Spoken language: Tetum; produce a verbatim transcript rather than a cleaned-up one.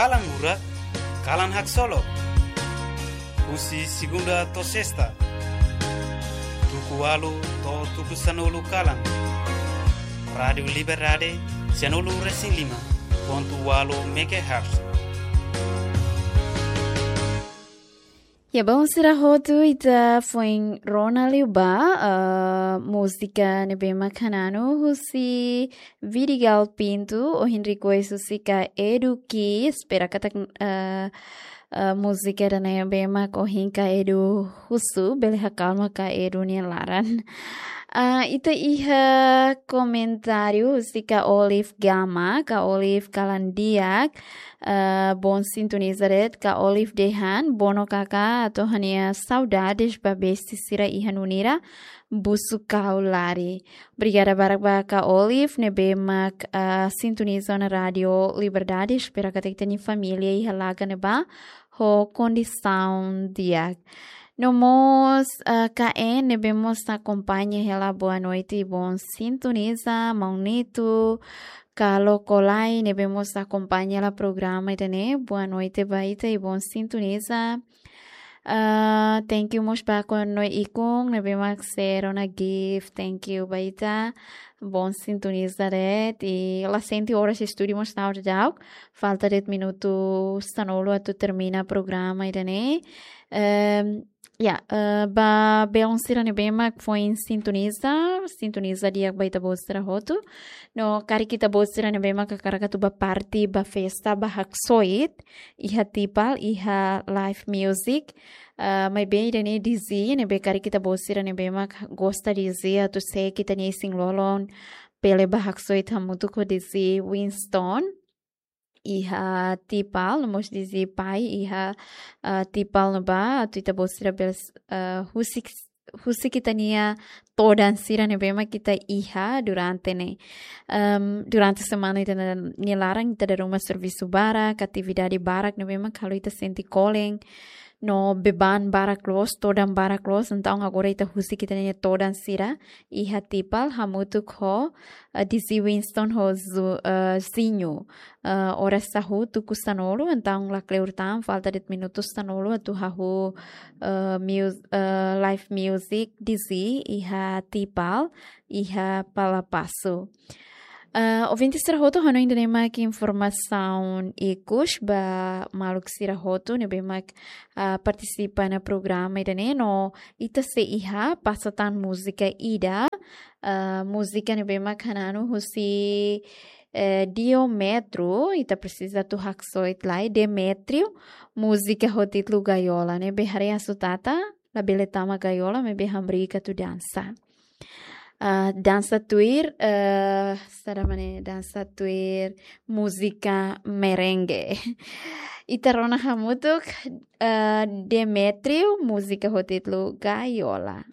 Kalan Lurak, Kalan Haksolok. Husi segunda to'o sesta, tuku ualu to'o tuku sanulu kalan. Rádiu Liberdade, sanulu resin lima pontu ualu megahertz. Ya, baun sira hotu, ita foin rona liu ba, eh, múzika ne'ebé mak hananu husi Vidigal Pinto, ohin request husi Ka Edu Ki, espera katak, eh, eh, múzika ida ne'ebé mak ohin Ka Edu husu, bele hakalma Ka Edu nia laran. Ah, ita iha komentáriu husi Ka Olive Gama, Ka Olive kalan di'ak, eh, bom sintoniza de'it, Ka Olive dehan, bono kaka, atu ha'u-nia saudades ba besti sira iha Nunira, Busu Kau Lari. Obrigada barak ba Ka Olive, ne'ebé mak, eh, sintoniza ona Rádiu Liberdade, espera katak ita-nia família iha Laga ne'ebá ho kondisaun di'ak. No mós, eh, K N, ne'ebé mós akompaña hela boa noite, bom sintoniza, Maun Nito, Kalo Kolai, ne'ebé mós akompaña hela programa ida-ne'e, boa noite ba ita i bom sintoniza. Ah, thank you mós ba Kono Ikun, ne'ebé mak sero na gift, thank you ba ita, bom sintoniza de'it, i la sente oras estúdiu mós na hora de auk, falta de'it minutu sanulu atu termina programa ida-ne'e. Ehm, ya, eh, ba belun sira ne'ebé mak foin sintoniza, sintoniza di'ak ba ita-boot sira hotu. No karik ita-boot sira ne'ebé mak hakarak atu bá parte, bá festa, bá haksoit, iha Tipal, iha live music. Eh, maibé ida-ne'e D J, ne'ebé karik ita-boot sira ne'ebé mak gosta D J, atu seek ita-nia isin-lolon, bele bá haksoit hamutuk ho D J Winston iha Tipal, no mós D J Pai iha, eh, Tipal ne'ebá, atu ita-boot sira bele, eh, husik, husik ita-nia todan sira ne'ebé mak ita iha durante ne'e. Em, durante semana ita-nia laran, ita dada ruma servisu barak, atividade barak ne'ebé mak halo ita sente kolen, no beban barak loos, todan barak loos, entaun agora ita husik ita-nia todan sira iha Tipal, hamutuk ho, eh, D J Winston ho Zu-, eh, Zinho. Eh, oras hahú tuku sanulu, entaun lakleur tan, falta de'it minutu sanulu atu hahú, eh, mus-, eh, live music D J iha Tipal, iha Palapasu. Eh, ouvinte sira hotu, ha'u hanoin ida-ne'e mak informasaun ikus ba maluk sira hotu ne'ebé mak, ah, partisipa ona programa ida-ne'e, no ita sei iha pasa tan múzika ida, ah, múzika ne'ebé mak hananu husi, eh, Diometro, ita presiza atu haksoit lai, Demetrio, múzika ho títulu Gaiola, ne'ebé haree Asutata, labele tama gaiola, maibé hamriik atu dansa. Ah, dansa tuir, eh, saida mak ne'e, dansa tuir múzika merengue. Ita rona hamutuk, eh, Demetrio, múzika ho títulu Gaiola.